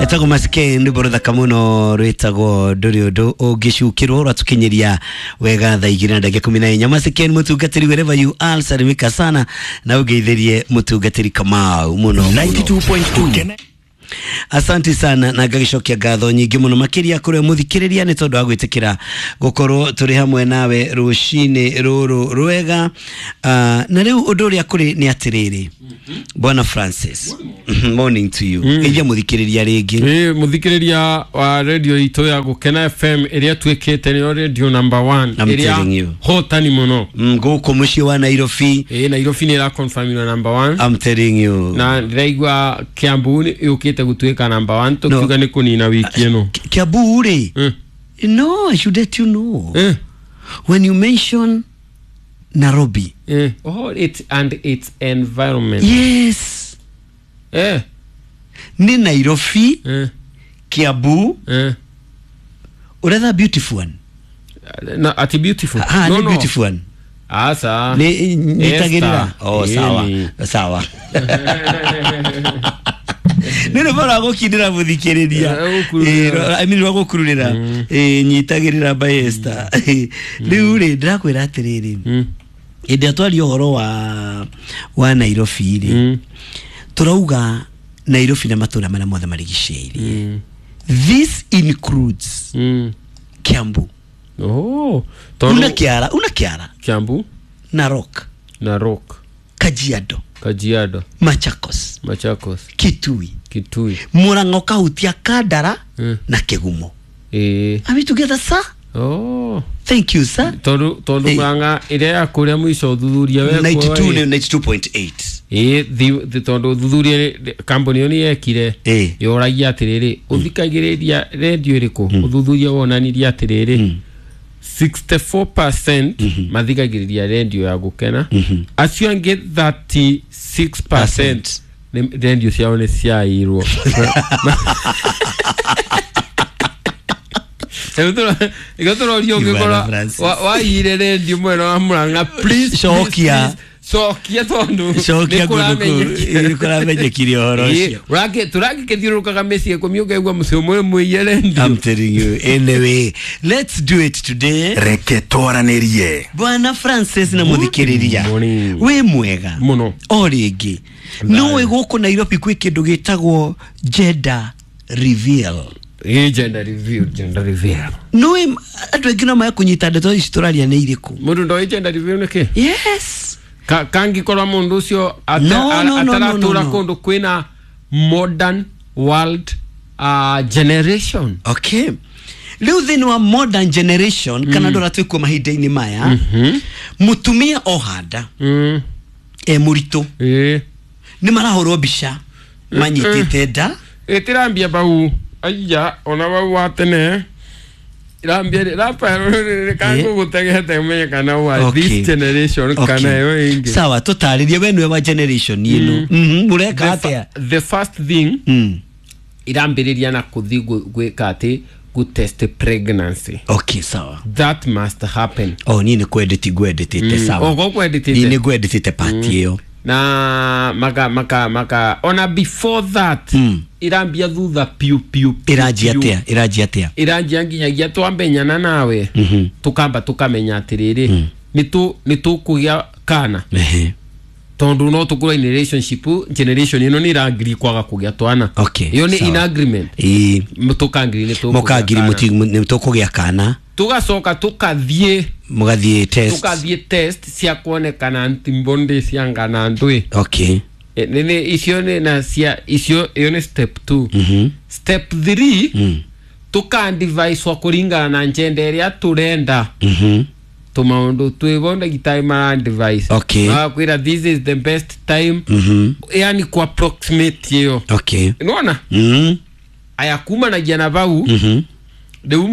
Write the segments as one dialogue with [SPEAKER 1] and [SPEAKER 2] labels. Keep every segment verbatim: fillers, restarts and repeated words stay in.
[SPEAKER 1] Etagwo Maskeni rwĩmbo rũthaka mũno rwĩtagwo ndũrĩ ũndũ ũngĩcukĩrwo rwatũkinyĩria wega thaa igĩrĩ na ndagĩka ikũmi na inya. Maskeni mũtungatĩri wherever you are, salimika sana na ũngeithĩrie mũtungatĩri Kamau mũno mũno.
[SPEAKER 2] ninety-two point two.
[SPEAKER 1] Asante sana na ngagicokia ngatho nyingĩ mũno makĩria kũrĩ mũthikĩrĩria nĩ tondũ wa gwĩtĩkĩra gũkorwo tũrĩ hamwe nawe rũcinĩ rũrũ rwega. Uh, na rĩu ũndũ ũrĩa kũrĩ nĩ atĩrĩrĩ, Bwana Francis, morning to you. Mm. Ĩria mũthikĩrĩria rĩngĩ.
[SPEAKER 3] Ĩ mũthikĩrĩria wa radio itũ ya Gũkena F M ĩrĩa tuĩkĩte nĩyo radio number one
[SPEAKER 1] I'm telling you.
[SPEAKER 3] ĩrĩa hotani mũno.
[SPEAKER 1] Mm, gũkũ mũciĩ wa Nairobi.
[SPEAKER 3] Ĩ Nairobi nĩ ĩraconfirmirwo number one.
[SPEAKER 1] I'm telling you.
[SPEAKER 3] Na ndĩraigua Kiambu nĩ yũkĩte gũtuĩka number one tũkiuga nĩ kũnina wiki ĩno.
[SPEAKER 1] Kiambu rĩ?
[SPEAKER 3] Mm.
[SPEAKER 1] No, I should let you know.
[SPEAKER 3] Mm.
[SPEAKER 1] When you mention Nairobi.
[SPEAKER 3] Eh. Oh, it and its environment.
[SPEAKER 1] Yes.
[SPEAKER 3] Eh.
[SPEAKER 1] Ni Nairobi.
[SPEAKER 3] Eh.
[SPEAKER 1] Kiambu.
[SPEAKER 3] Eh.
[SPEAKER 1] Uratha beautiful one.
[SPEAKER 3] No, ati beautiful.
[SPEAKER 1] Ah,
[SPEAKER 3] no,
[SPEAKER 1] ni
[SPEAKER 3] no.
[SPEAKER 1] Beautiful one.
[SPEAKER 3] Ah, sa.
[SPEAKER 1] Ni nitagirira. Oh, sawa.
[SPEAKER 3] Ni.
[SPEAKER 1] Sawa. Nĩ rwĩmbo rwa gũkindĩra mũthikĩrĩria.
[SPEAKER 3] Rwa gũkururĩra.
[SPEAKER 1] I mean rwa gũkururĩra. Eh, nyitagĩrĩra by Esther. Rĩu rĩ ndĩrakwĩra atĩrĩrĩ.
[SPEAKER 3] Mm.
[SPEAKER 1] Hĩndĩ ĩrĩa twaria ũhoro wa wa Nairobi rĩ,
[SPEAKER 3] Mm.
[SPEAKER 1] tũrauga Nairobi na matũũra marĩa mothe marigicĩirie.
[SPEAKER 3] Mm.
[SPEAKER 1] This includes
[SPEAKER 3] Mm.
[SPEAKER 1] Kiambu.
[SPEAKER 3] Oh,
[SPEAKER 1] Una Kiara, una Kiara.
[SPEAKER 3] Kiambu,
[SPEAKER 1] Narok,
[SPEAKER 3] Narok,
[SPEAKER 1] Kajiado,
[SPEAKER 3] Kajiado,
[SPEAKER 1] Machakos,
[SPEAKER 3] Machakos,
[SPEAKER 1] Kitui,
[SPEAKER 3] Kitui,
[SPEAKER 1] Murang'a ũkahutia Kandara
[SPEAKER 3] Mm.
[SPEAKER 1] na Kĩgumo.
[SPEAKER 3] Eh.
[SPEAKER 1] Are we together, sir?
[SPEAKER 3] Oh.
[SPEAKER 1] Thank you, sir.
[SPEAKER 3] Tondu tondu
[SPEAKER 1] Eh.
[SPEAKER 3] Murang'a ĩrĩa ya kũrĩa mũico ũthuthuria wekwo
[SPEAKER 1] ninety-two
[SPEAKER 3] ĩ.
[SPEAKER 1] ninety-two point eight.
[SPEAKER 3] Ĩ, thi- thi- tondu ũthuthuria kambuni ĩyo nĩ yekire
[SPEAKER 1] Eh.
[SPEAKER 3] yoragia atĩrĩrĩ ũthikagĩrĩria redio ĩrĩkũ ũthuthuria wonanirie atĩrĩrĩ sixty-four percent mathikagĩrĩria redio ya Gũkena, acio angĩ thirty-six percent redio ciao nĩ ciairwo. Rĩu tũrorio ũngĩkorwo waiyire redio mwena wa Murang'a, please,
[SPEAKER 1] Cokia.
[SPEAKER 3] cokia tondu
[SPEAKER 1] Cokia nĩ kũramenyekire ũhoro ũcio.
[SPEAKER 3] Tũrangĩkĩthiũrũrũkaga mĩciĩ ikũmi ũkaigua mũciĩ ũmwe mũiye redio.
[SPEAKER 1] I'm telling you. Anyway, let's do it today.
[SPEAKER 2] Reke twaranĩrie.
[SPEAKER 1] Bwana Francis na mũthikĩrĩria.
[SPEAKER 3] Morning.
[SPEAKER 1] Wĩ mwega
[SPEAKER 3] Mũno.
[SPEAKER 1] O rĩngĩ. No wĩ gũkũ Nairobi kwĩ kĩndũ gĩtagwo gender reveal.
[SPEAKER 3] Ĩ, gender reveal, gender reveal.
[SPEAKER 1] No wĩ andũ aingĩ no maya kũnyita ndeto ici tũraria nĩ irĩkũ.
[SPEAKER 3] Mũndũ ndoĩ gender reveal nĩ kĩ?
[SPEAKER 1] Yes.
[SPEAKER 3] Ka kangĩkorwo mũndũ ũcio
[SPEAKER 1] No, no, no, no,
[SPEAKER 3] ataratũra
[SPEAKER 1] no, no.
[SPEAKER 3] kũndũ kwĩna modern world uh, generation.
[SPEAKER 1] Okay. Rĩu thĩinĩ wa modern generation kana andũ arĩa twĩkuo mahinda-inĩ maya, mũtumia ohanda
[SPEAKER 3] Mm.
[SPEAKER 1] e mũritũ
[SPEAKER 3] Ĩ.
[SPEAKER 1] nĩ marahũrwo mbica manyitĩte nda.
[SPEAKER 3] Ĩtĩrambia bau aiya ona bau wa tene irambia rafael kangũgũtegete ũmenye kana wa
[SPEAKER 1] Okay.
[SPEAKER 3] this generation
[SPEAKER 1] Okay.
[SPEAKER 3] kana ĩyo ĩngĩ.
[SPEAKER 1] Sawa, tũtarĩrie we nĩwe wa generation ĩno. Mhm, mũreka
[SPEAKER 3] The
[SPEAKER 1] atĩa?
[SPEAKER 3] fa- the first thing
[SPEAKER 1] Mm.
[SPEAKER 3] irambĩrĩria na kũthiĩ gwĩka atĩ gũtest pregnancy.
[SPEAKER 1] Okay, sawa.
[SPEAKER 3] That must happen.
[SPEAKER 1] Oh, niĩ nĩ kwendeti ngwendetete, sawa.
[SPEAKER 3] Ogo kwendetete.
[SPEAKER 1] Niĩ nĩ ngwendetete part ĩyo.
[SPEAKER 3] Na maka maka maka ona before that
[SPEAKER 1] Mm.
[SPEAKER 3] irambia thutha piu piu piu,
[SPEAKER 1] Ĩranjia
[SPEAKER 3] piu.
[SPEAKER 1] atĩa? Ĩranjia atĩa?
[SPEAKER 3] Iranjia nginyagia twamenyana nawe
[SPEAKER 1] Mhm.
[SPEAKER 3] tukamba tukamenya atiriri nĩ tũkũgĩa kana
[SPEAKER 1] Ehe.
[SPEAKER 3] tondu no tũkorwo in relationship generation ĩno nĩ ĩrangiri kwaga kũgĩa twana.
[SPEAKER 1] Okay,
[SPEAKER 3] ĩyo nĩ
[SPEAKER 1] sawa.
[SPEAKER 3] in agreement.
[SPEAKER 1] Ĩĩ.
[SPEAKER 3] Tũkangiri nĩ tũkũgĩa
[SPEAKER 1] Mũkangiri
[SPEAKER 3] kana.
[SPEAKER 1] mũti- nĩ tũkũgĩa kana.
[SPEAKER 3] Tũgacoka tũkathiĩ
[SPEAKER 1] Mũgathiĩ test.
[SPEAKER 3] tũkathiĩ test cia kuonekana ntimbonde cia ngana ndwĩ.
[SPEAKER 1] Okay.
[SPEAKER 3] E, nĩ nĩ icio nĩ na cia icio ĩyo nĩ step two.
[SPEAKER 1] Mhm.
[SPEAKER 3] Step three
[SPEAKER 1] Mm.
[SPEAKER 3] tũkandivaicwo kũringana na njenda ĩrĩa tũrenda.
[SPEAKER 1] Mhm.
[SPEAKER 3] Tũmaũndũ twĩbo ndagĩtarĩ mara-advise.
[SPEAKER 1] Okay.
[SPEAKER 3] Magakwĩra this is the best time.
[SPEAKER 1] Mhm.
[SPEAKER 3] Yani ku approximate ĩyo.
[SPEAKER 1] Okay.
[SPEAKER 3] Nĩwona?
[SPEAKER 1] Mm.
[SPEAKER 3] Aya kumanagia na bau
[SPEAKER 1] Mhm.
[SPEAKER 3] rĩu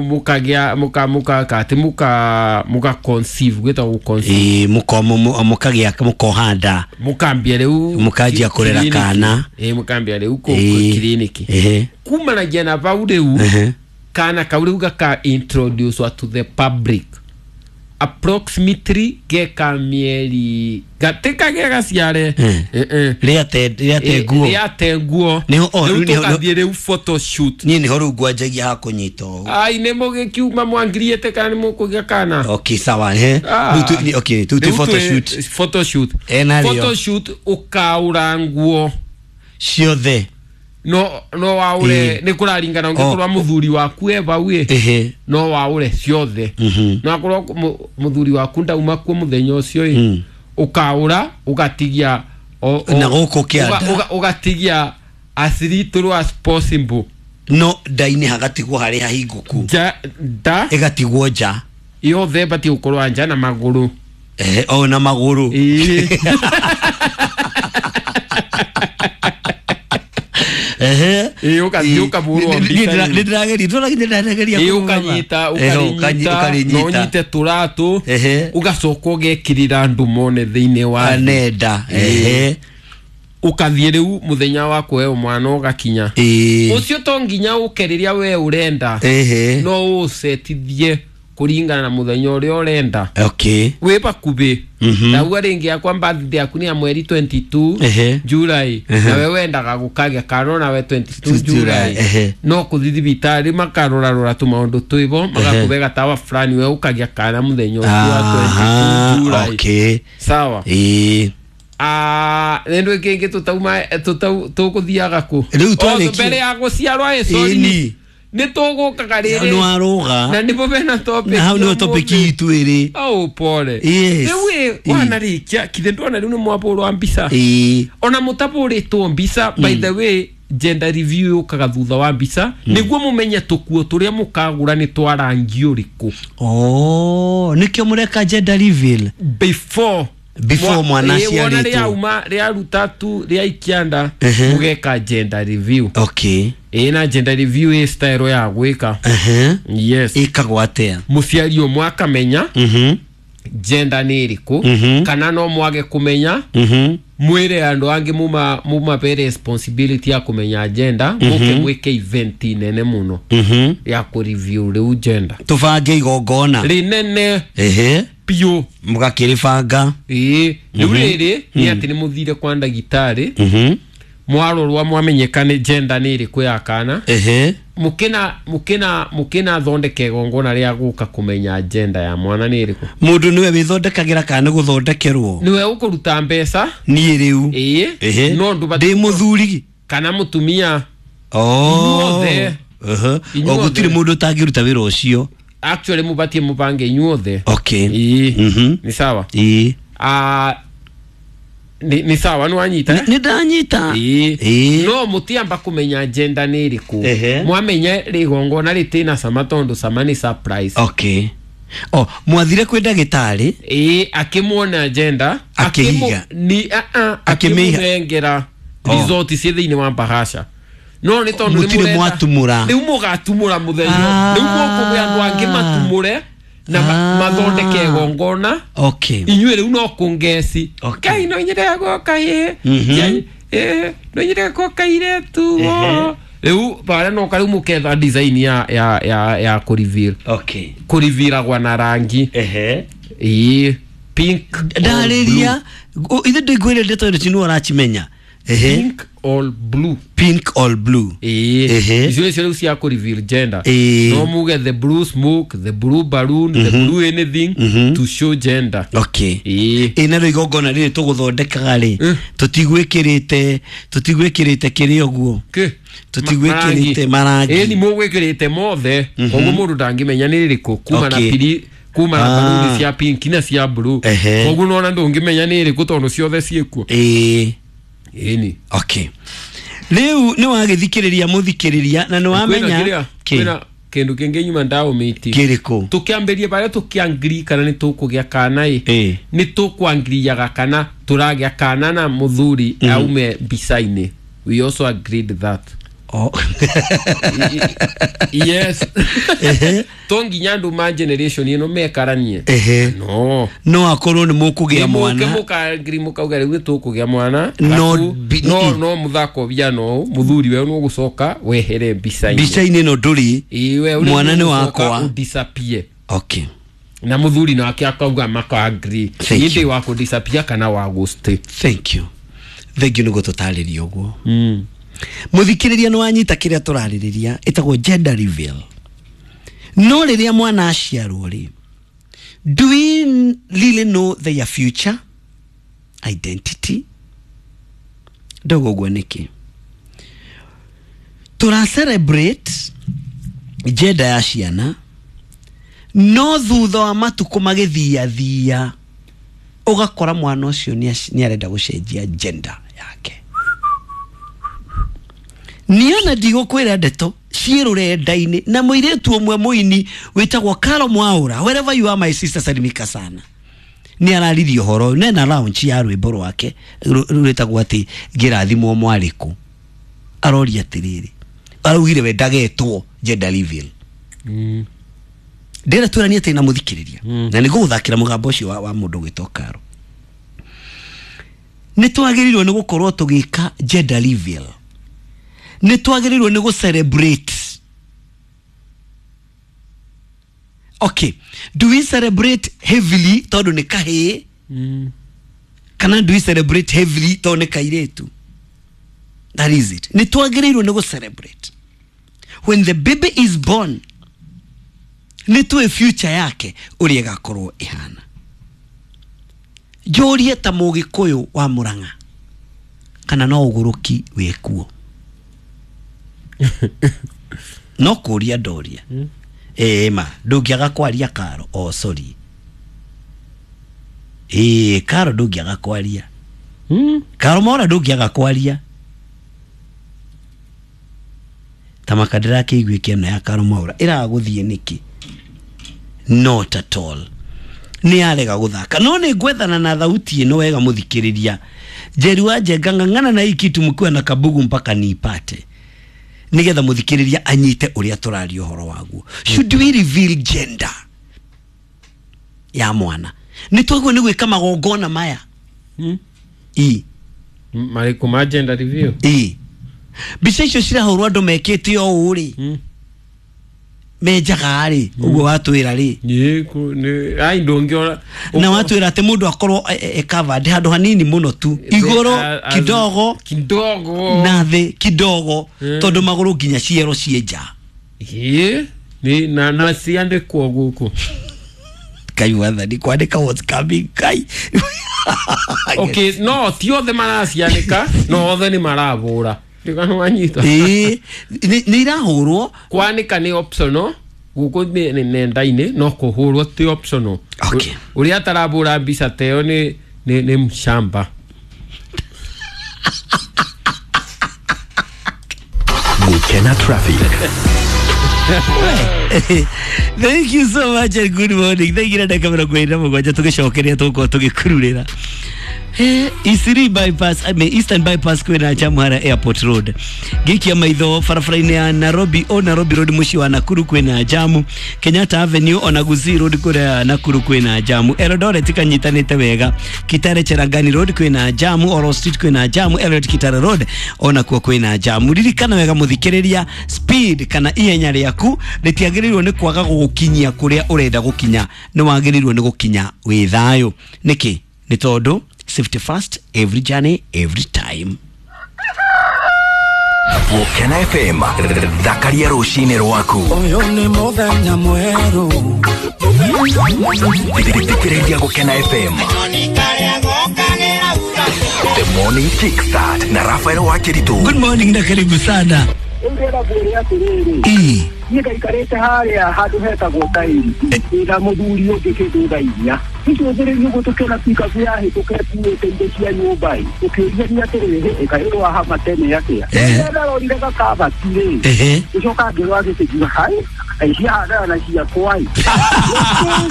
[SPEAKER 3] mũkagĩa mũka mũka atĩ mũka mũka conceive gwĩtagwo gũ conceive.
[SPEAKER 1] Ĩĩ, mũko mũkagĩa mũkoha nda.
[SPEAKER 3] Mũkambia rĩu
[SPEAKER 1] Mũkanjia kũrera
[SPEAKER 3] clinic.
[SPEAKER 1] kana.
[SPEAKER 3] Ĩĩ, mũkambia rĩu kũ
[SPEAKER 1] Ĩĩ.
[SPEAKER 3] clinic.
[SPEAKER 1] Ehe.
[SPEAKER 3] Kumanagia na bau rĩu
[SPEAKER 1] Ehe.
[SPEAKER 3] kana kau rĩu gaka introduce to the public. Approximately geka mieri gateka gega ciare
[SPEAKER 1] Mm.
[SPEAKER 3] eh eh
[SPEAKER 1] Rĩate rĩate nguo.
[SPEAKER 3] Rĩate nguo.
[SPEAKER 1] Nĩho- oh,
[SPEAKER 3] rĩu
[SPEAKER 1] rĩu nĩho-
[SPEAKER 3] tũgathiĩ rĩu photoshoot.
[SPEAKER 1] Niĩ nĩho rĩu ngwanjagia ha kũnyita ũũ.
[SPEAKER 3] Ai nĩ mũgĩkiuma mwangiriĩte kana nĩ mũkũgĩa kana.
[SPEAKER 1] Okay, sawa eh.
[SPEAKER 3] Ah.
[SPEAKER 1] Rĩu tu- ni- okay, tu
[SPEAKER 3] Rĩu
[SPEAKER 1] tu
[SPEAKER 3] twĩ-
[SPEAKER 1] photoshoot
[SPEAKER 3] photoshoot.
[SPEAKER 1] Ena rĩo.
[SPEAKER 3] Photoshoot ũkaũra nguo
[SPEAKER 1] ciothe.
[SPEAKER 3] No no waũre
[SPEAKER 1] Ĩĩ.
[SPEAKER 3] nĩ kũraringana
[SPEAKER 1] Oh.
[SPEAKER 3] ũngĩkorwo mũthuri waku e bau ĩ
[SPEAKER 1] Ehe.
[SPEAKER 3] no waũre ciothe.
[SPEAKER 1] Mhm.
[SPEAKER 3] No akorwo mu- mũthuri waku ndauma kuo mũthenya ũcio ĩ
[SPEAKER 1] Mm.
[SPEAKER 3] ũkaũra ũgatigia o- o-
[SPEAKER 1] Na gũkũ kĩanda.
[SPEAKER 3] ũga- ũga- ũgatigia as little as possible.
[SPEAKER 1] No nda-inĩ hagatigwo harĩ hahingũku.
[SPEAKER 3] Nja nda
[SPEAKER 1] Ĩgatigwo nja.
[SPEAKER 3] yothe ĩbatiĩ gũkorwo nja na magũrũ.
[SPEAKER 1] Ehe, o na magũrũ.
[SPEAKER 3] Ĩĩ.
[SPEAKER 1] Ehe.
[SPEAKER 3] Ĩĩ, ũgathiĩ ũkahũrwo
[SPEAKER 1] Nĩ- nĩ-
[SPEAKER 3] mbica
[SPEAKER 1] nĩ-
[SPEAKER 3] rĩu.
[SPEAKER 1] nĩ ndĩrageria ndĩrageria ndĩrageria
[SPEAKER 3] Ĩĩ,
[SPEAKER 1] kũrũgama.
[SPEAKER 3] ũkanyita
[SPEAKER 1] Ehe, ũkanyi-
[SPEAKER 3] ũkarinyita no
[SPEAKER 1] ũkarinyita.
[SPEAKER 3] ũnyite tũratũ
[SPEAKER 1] Ehe.
[SPEAKER 3] ũgacoka ũgekĩrĩra andũ mone thĩinĩ wa thĩ.
[SPEAKER 1] Nenda. Ehe.
[SPEAKER 3] Ũkathiĩ rĩu mũthenya wa kũheo mwana ũgakinya.
[SPEAKER 1] Ĩĩ.
[SPEAKER 3] Ũcio to nginya ũke rĩrĩa we ũrenda.
[SPEAKER 1] Ehe.
[SPEAKER 3] No ũcetithie kũringana na mũthenya ũrĩa ũrenda.
[SPEAKER 1] Okay.
[SPEAKER 3] Wĩ bakubĩ.
[SPEAKER 1] Mhm.
[SPEAKER 3] Ndauga rĩngĩ yakwa birthday yaku nĩ ya mweri twenty-two
[SPEAKER 1] Ehe.
[SPEAKER 3] July.
[SPEAKER 1] Ehe.
[SPEAKER 3] Nawe wendaga gũkagĩa kana onawe twenty-two
[SPEAKER 1] July,
[SPEAKER 3] July.
[SPEAKER 1] ehe.
[SPEAKER 3] No kũthiĩ thibitarĩ makarorarora tũmaũndũ twĩbo magakũhe gatawa fulani we ũkagĩa kana mũthenya ũcio wa
[SPEAKER 1] Aha,
[SPEAKER 3] twenty-two July.
[SPEAKER 1] okay.
[SPEAKER 3] Sawa.
[SPEAKER 1] Ĩĩ.
[SPEAKER 3] Ah, nĩ kĩngĩ tũtauma tũtau tũkũthiaga kũ?
[SPEAKER 1] Rĩu
[SPEAKER 3] O,
[SPEAKER 1] twarĩkia.
[SPEAKER 3] mbere ya gũciarwo ĩ sorry.
[SPEAKER 1] Ĩni.
[SPEAKER 3] Nĩ tũgũkaga rĩrĩ.
[SPEAKER 1] Nĩ warũga.
[SPEAKER 3] Na nĩbo bena topic.
[SPEAKER 1] Na hau nĩho
[SPEAKER 3] ya
[SPEAKER 1] topic
[SPEAKER 3] ũmũthĩ.
[SPEAKER 1] itũ ĩrĩ.
[SPEAKER 3] Au pole.
[SPEAKER 1] Yes.
[SPEAKER 3] Rĩu ĩ
[SPEAKER 1] Ĩ.
[SPEAKER 3] wanarĩkia kithe ndona rĩu nĩ mwabũrwa mbica.
[SPEAKER 1] Ĩĩ.
[SPEAKER 3] Ona mũtabũrĩtwo mbica by the way gender review yũkaga thutha wa mbica nĩguo mũmenye tũkuo tũrĩa mũkagũra nĩ twa rangi ũrĩkũ.
[SPEAKER 1] Oh, nĩkĩo mũreka gender reveal.
[SPEAKER 3] Before
[SPEAKER 1] Before mwana
[SPEAKER 3] ĩ, wona
[SPEAKER 1] aciarĩtwo.
[SPEAKER 3] rĩauma rĩaruta tu rĩaikia nda
[SPEAKER 1] Ehe.
[SPEAKER 3] mũgeka gender review.
[SPEAKER 1] Okay.
[SPEAKER 3] Ĩ na gender review ĩ style ya gwĩka.
[SPEAKER 1] Ehe.
[SPEAKER 3] Yes.
[SPEAKER 1] Ĩkagwo atĩa?
[SPEAKER 3] Mũciari ũmwe akamenya
[SPEAKER 1] Mhm.
[SPEAKER 3] gender nĩ ĩrĩkũ
[SPEAKER 1] Mhm.
[SPEAKER 3] kana no mwage kũmenya
[SPEAKER 1] Mhm.
[SPEAKER 3] mwĩre andũ angĩ muma mumape responsibility ya kũmenya gender mũke mwĩke event nene mũno
[SPEAKER 1] Mhm.
[SPEAKER 3] ya kũ review rĩu gender
[SPEAKER 1] Tũbange igongona.
[SPEAKER 3] rĩnene
[SPEAKER 1] Ehe.
[SPEAKER 3] biũ.
[SPEAKER 1] Mũgakĩrĩbanga.
[SPEAKER 3] Ĩĩ rĩu rĩrĩ nĩ atĩ nĩ mũthire kwa ndagĩtarĩ
[SPEAKER 1] Mhm.
[SPEAKER 3] mwarorwa mwamenyeka nĩ gender nĩ ĩrĩkũ ya kana
[SPEAKER 1] Ehe.
[SPEAKER 3] mũkĩna mũkĩna mũkĩna thondeka igongona rĩa gũka kũmenya gender ya mwana nĩ ĩrĩkũ.
[SPEAKER 1] Mũndũ nĩwe wĩthondekagĩra kana nĩ gũthondekerwo?
[SPEAKER 3] Nĩwe ũkũruta mbeca.
[SPEAKER 1] Niĩ rĩu.
[SPEAKER 3] Ĩĩ
[SPEAKER 1] Ehe.
[SPEAKER 3] no ndũbatiĩ
[SPEAKER 1] Ndĩ mũthuri.
[SPEAKER 3] kana mũtumia.
[SPEAKER 1] Oh.
[SPEAKER 3] Inyuothe.
[SPEAKER 1] Ehe.
[SPEAKER 3] Inyuothe.
[SPEAKER 1] O gũtirĩ mũndũ ũtangĩruta wĩra ũcio.
[SPEAKER 3] Actually mũbatiĩ mũbange inyuothe.
[SPEAKER 1] Okay.
[SPEAKER 3] Ĩĩ
[SPEAKER 1] Mhm.
[SPEAKER 3] nĩ sawa.
[SPEAKER 1] Ĩĩ.
[SPEAKER 3] Ah, nĩ nĩ sawa nĩ wanyita.
[SPEAKER 1] Nĩ ndanyita.
[SPEAKER 3] Ĩĩ
[SPEAKER 1] Ĩĩ.
[SPEAKER 3] no mũtiamba kũmenya gender nĩ ĩrĩkũ
[SPEAKER 1] Ehe.
[SPEAKER 3] mwamenya rĩgongona rĩtĩna cama tondũ cama nĩ surprise.
[SPEAKER 1] Okay. Oh, mwathire kwĩ ndagĩtarĩ.
[SPEAKER 3] Ĩĩ akĩmuona gender
[SPEAKER 1] Akĩiga.
[SPEAKER 3] akĩmũ- ni a a
[SPEAKER 1] Akĩmĩiga.
[SPEAKER 3] akĩmũnengera
[SPEAKER 1] Oh.
[SPEAKER 3] result ciĩ thĩinĩ wa bahasha no nĩ tondũ nĩ
[SPEAKER 1] Mũtirĩ
[SPEAKER 3] mũrenda-
[SPEAKER 1] mwatumũra.
[SPEAKER 3] rĩu mũgatumũra mũthenya
[SPEAKER 1] Ah.
[SPEAKER 3] rĩu mũkũgĩa andũ angĩ matumũre na ma-
[SPEAKER 1] Ah.
[SPEAKER 3] mathondeke igongona
[SPEAKER 1] Okay.
[SPEAKER 3] inyuĩ rĩu no kũngeci.
[SPEAKER 1] Okay.
[SPEAKER 3] Ngai no nyende gwoka ĩ
[SPEAKER 1] Mhm.
[SPEAKER 3] Ngai, ĩ, no nyende gwoka iretu
[SPEAKER 1] Ehe.
[SPEAKER 3] rĩu barĩa noka rĩu mũketha design ya ya ya ya kũreveal
[SPEAKER 1] Okay.
[SPEAKER 3] kũrevealagwa na rangi.
[SPEAKER 1] Ehe.
[SPEAKER 3] Ĩĩ pink or
[SPEAKER 1] Ndarĩria. Ithe ndĩngwĩre ndeto ĩno tinũ ũracimenya. Ehe.
[SPEAKER 3] pink or blue.
[SPEAKER 1] Pink or blue.
[SPEAKER 3] Ĩĩ
[SPEAKER 1] Ehe.
[SPEAKER 3] icio nĩcio rĩu cia kũreveal gender.
[SPEAKER 1] Ĩĩ.
[SPEAKER 3] No muge the blue smoke, the blue balloon, the blue anything to show gender.
[SPEAKER 1] Okay.
[SPEAKER 3] Ĩĩ
[SPEAKER 1] Ĩ narĩo igongona rĩrĩ tũgũthondekaga rĩ
[SPEAKER 3] Eh.
[SPEAKER 1] tũtigwĩkĩrĩte tũtigwĩkĩrĩte kĩrĩ ũguo
[SPEAKER 3] Kĩ?
[SPEAKER 1] Tũtigwĩkĩrĩte marangi.
[SPEAKER 3] Ĩĩ ni mũgwĩkĩrĩte mothe koguo mũndũ ndangĩmenya nĩ rĩrĩkũ kuma na
[SPEAKER 1] Okay.
[SPEAKER 3] piri kuma na
[SPEAKER 1] Ah.
[SPEAKER 3] baluni cia pink na cia blue
[SPEAKER 1] Ehe.
[SPEAKER 3] koguo nona ndũngĩmenya nĩ ĩrĩkũ tondũ ciothe ciĩkuo.
[SPEAKER 1] Ĩĩ.
[SPEAKER 3] Ĩni
[SPEAKER 1] Okay. Rĩu nĩ wagĩthikĩrĩria mũthikĩrĩria na nĩ
[SPEAKER 3] kwĩna
[SPEAKER 1] wamenya
[SPEAKER 3] kĩrĩa
[SPEAKER 1] Kĩ?
[SPEAKER 3] kwĩna kĩndũ kĩngĩ nyuma ndaũmĩti
[SPEAKER 1] kĩrĩkũ.
[SPEAKER 3] tũkĩambĩrie barĩa tũkĩangiri kana nĩ tũkũgĩa kana ĩ
[SPEAKER 1] Ĩĩ.
[SPEAKER 3] nĩ tũkwangiriaga kana tũragĩa kana na mũthuri aume mbica-inĩ. We also agreed that.
[SPEAKER 1] Oh.
[SPEAKER 3] Yes.
[SPEAKER 1] Ehe.
[SPEAKER 3] To nginya andũ ma generation ĩno mekaranie.
[SPEAKER 1] Ehe.
[SPEAKER 3] No
[SPEAKER 1] no akorwo nĩ mũkũgĩa mwana
[SPEAKER 3] mũkangiri mũkauga rĩu nĩ tũkũgĩa mwana
[SPEAKER 1] No
[SPEAKER 3] Arabu,
[SPEAKER 1] bi-
[SPEAKER 3] no no mũthako biano mũthuri we nũgũcoka wehere mbica-inĩ.
[SPEAKER 1] mbica-inĩ ĩno ndũrĩ
[SPEAKER 3] Ĩĩ, we ũrĩ
[SPEAKER 1] Mwana nĩ
[SPEAKER 3] nũgũcoka
[SPEAKER 1] wakwa.
[SPEAKER 3] ũdisappear.
[SPEAKER 1] Okay.
[SPEAKER 3] Na muthuri nake akauga maka agree. Indi wa ku disappear kana wa go stay.
[SPEAKER 1] Thank you. Thank you niguo tutaririe uguo.
[SPEAKER 3] Mm.
[SPEAKER 1] Muthikiriria ni wanyita kiria turaririria itagwo gender reveal. No riria mwana aciarwo ri, do we really know their future identity? Ndogo uguo niki tura celebrate gender ya ciana no thutha wa matuko magithia thia ugakora mwana ucio ni arenda gucenjia gender yake. Niona ndigũkwĩra ndeto ciĩ rũrenda-inĩ na mũirĩtu ũmwe mũini wĩtagwo Karo Mwaura, wherever you are my sister, salimika sana, nĩ araririe ũhoro nena launch ya rwĩmbo rwake rwĩtagwo atĩ ngĩrathimwo mwarĩkũ. Aroria atĩrĩrĩ, araugire we ndagetwo gender reveal.
[SPEAKER 3] Mm.
[SPEAKER 1] Ndĩra twĩranie atĩ na mũthikĩrĩria
[SPEAKER 3] mm.
[SPEAKER 1] na nĩngũgũthakĩra mũgambo ũcio wa, wa mũndũ gwĩtwo Karo. Nĩ twagĩrĩirwo nĩ gũkorwo tũgĩka gender reveal, nĩ twagĩrĩirwo nĩ gũ celebrate. Okay, do we celebrate heavily tondũ nĩ kahĩĩ?
[SPEAKER 3] Mm.
[SPEAKER 1] Kana do we celebrate heavily tondũ nĩ kairĩtu? That is it. Nĩ twagĩrĩirwo nĩ gũ celebrate when the baby is born, nĩ tũĩ future yake ũrĩa ĩgakorwo ĩhana. Njũrie ta mũgĩkũyũ wa Mũrang'a kana no ũgũrũki wĩkuo? No kũria ndoria.
[SPEAKER 3] Mm.
[SPEAKER 1] Ĩĩ ma ndũngĩaga kwaria Karo. Oh sorry. Ĩĩ Karo ndũngĩaga kwaria.
[SPEAKER 3] Mm.
[SPEAKER 1] Karo Mwaura ndũngĩaga kwaria. Ta makandĩra kĩiguĩke ĩno ya Karo Mwaura ĩragũthiĩ nĩkĩ? Not at all. Nĩ arega gũthaka. No nĩ ngwethana na thauti ĩno wega mũthikĩrĩria. Njeri wa Njenga ng'ang'ana na hii kitu mkiwa na kabugu mpaka niipate, nigetha muthikiriria anyite uria turaria uhoro waguo. Should we reveal gender ya mwana? Ni twaguo ni gwika magongona maya.
[SPEAKER 3] Mm.
[SPEAKER 1] I
[SPEAKER 3] mariku ma gender reveal.
[SPEAKER 1] I mbica icio cirahũrwo andũ mekĩte o ũũ rĩ,
[SPEAKER 3] Mm.
[SPEAKER 1] menjaga rĩ, ũguo watwĩra rĩ,
[SPEAKER 3] Nĩ ku nĩ ai ndũngĩora
[SPEAKER 1] na watwĩra atĩ mũndũ akorwo e, e covered handũ hanini mũno tu, igũrũ kidogo
[SPEAKER 3] kidogo
[SPEAKER 1] na thĩ kidogo,
[SPEAKER 3] Mm.
[SPEAKER 1] tondũ magũrũ nginya ciero ciĩ nja.
[SPEAKER 3] Ĩĩ nĩ na na ciandĩkwo gũkũ.
[SPEAKER 1] Kai wathani kwandĩka what's coming kai.
[SPEAKER 3] Okay, no ti othe maracianĩka no othe nĩ marabũra. Ndigano wanyita.
[SPEAKER 1] Ĩĩ nĩ irahũrwo.
[SPEAKER 3] Kwanĩka nĩ optional gũkũ nĩ nenda-inĩ, no kũhũrwo ti optional.
[SPEAKER 1] Okay.
[SPEAKER 3] Ũrĩa atarabũra mbica ta ĩyo nĩ nĩ nĩ mshamba.
[SPEAKER 2] Gukena traffic.
[SPEAKER 1] Thank you so much and good morning. Thank you na ndagĩka mĩrongo ĩrĩ na mũgwanja tũgĩcokeria tũgũkorwo tũgĩkururĩra. Eh, Isiri bypass, I mean Eastern bypass kwĩna jamu harĩa Airport Road. Gĩkia maitho barabara-inĩ ya Nairobi o Nairobi Road mũciĩ wa Nakuru kwĩna jamu. Kenyatta Avenue ona Gusii Road kũrĩa Nakuru kwĩna jamu. Eldoret kanyitanĩte wega. Kitale Cherangani Road kwĩna jamu, Oro Street kwĩna jamu, Eldoret Kitale Road ona kuo kwĩna jamu. Ririkana wega mũthikĩrĩria, speed kana ihenya rĩaku rĩtiagĩrĩirwo nĩ kwaga gũgũkinyia kũrĩa ũrenda gũkinya, nĩ wagĩrĩirwo nĩ gũkinya wĩ thayũ. Nĩkĩ? Nĩ tondũ safety first, every journey, every time.
[SPEAKER 2] Gukena F M thakaria rũcinĩ rwaku.
[SPEAKER 4] Ũyũ nĩ mũthenya mwerũ.
[SPEAKER 2] Thikĩrĩria Gukena F M. The Morning Kickstart na Rafael Wakiritu.
[SPEAKER 1] Good morning na karibu sana.
[SPEAKER 5] Ndĩrenda ngwĩre atĩrĩrĩ,
[SPEAKER 1] Ĩĩ.
[SPEAKER 5] niĩ ngaikarĩte harĩa handũ hetagwo tairi na mũthuri ũngĩ kĩndũ thaa inya icũthĩrĩrio ũguo tũkĩona pikabu yahĩtũka ĩkuĩte indo cia nyũmba ĩ, tũkĩũria nĩ atĩrĩrĩ, ĩkaĩ rwahama tene atĩa?
[SPEAKER 1] Eh.
[SPEAKER 5] Ndarorire gakabati rĩ,
[SPEAKER 1] Ehe.
[SPEAKER 5] gĩcoka ngĩrora gĩkĩngiuga hai kaĩ ciahandana na ciakwa ĩ.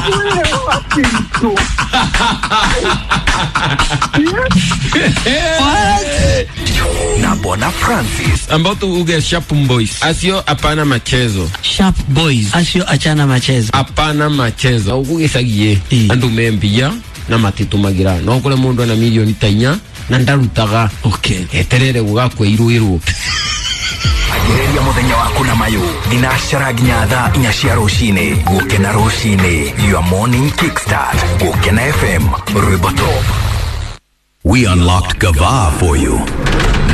[SPEAKER 5] Ngĩkwĩra Wakĩritũ.
[SPEAKER 1] What?
[SPEAKER 2] Na Bwana Francis.
[SPEAKER 3] Ambao tu uge Sharp Boys. Asio hapana machezo.
[SPEAKER 1] Sharp Boys. Asio achana machezo.
[SPEAKER 3] Hapana machezo. Ugugicagie
[SPEAKER 1] Ĩ.
[SPEAKER 3] andu membia na matitumagira. No kure mundu na milioni ta inya na ndarutaga.
[SPEAKER 1] Okay.
[SPEAKER 3] Eterere gugakwa iruirwo.
[SPEAKER 2] Anjĩrĩria mũthenya waku na mayũ thinacara nginya thaa inya cia rũcinĩ. Gũkena rũcinĩ, your morning kickstart. Gũkena F M, rwĩmbo top.
[SPEAKER 6] We unlocked Gava for you.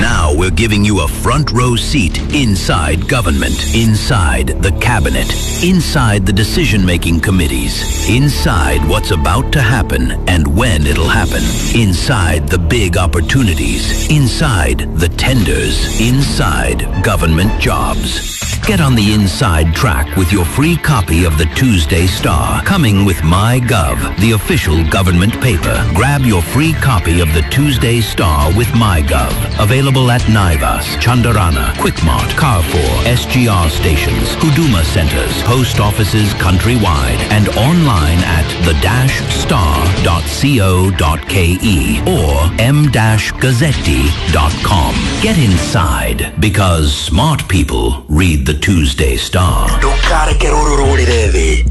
[SPEAKER 6] Now we're giving you a front row seat inside government, inside the cabinet, inside the decision making committees, inside what's about to happen and when it'll happen, inside the big opportunities, inside the tenders, inside government jobs. Get on the inside track with your free copy of the Tuesday Star, coming with MyGov, the official government paper. Grab your free copy of the Tuesday Star with MyGov. Available at Naivas, Chandarana, Quickmart, Carrefour, S G R stations, Huduma centers, post offices countrywide, and online at the dash star dot co dot k e or m dash gazzetti dot com. Get inside, because smart people read the Tuesday Star.
[SPEAKER 2] Ndũkareke rũrũ rũrĩre thĩ.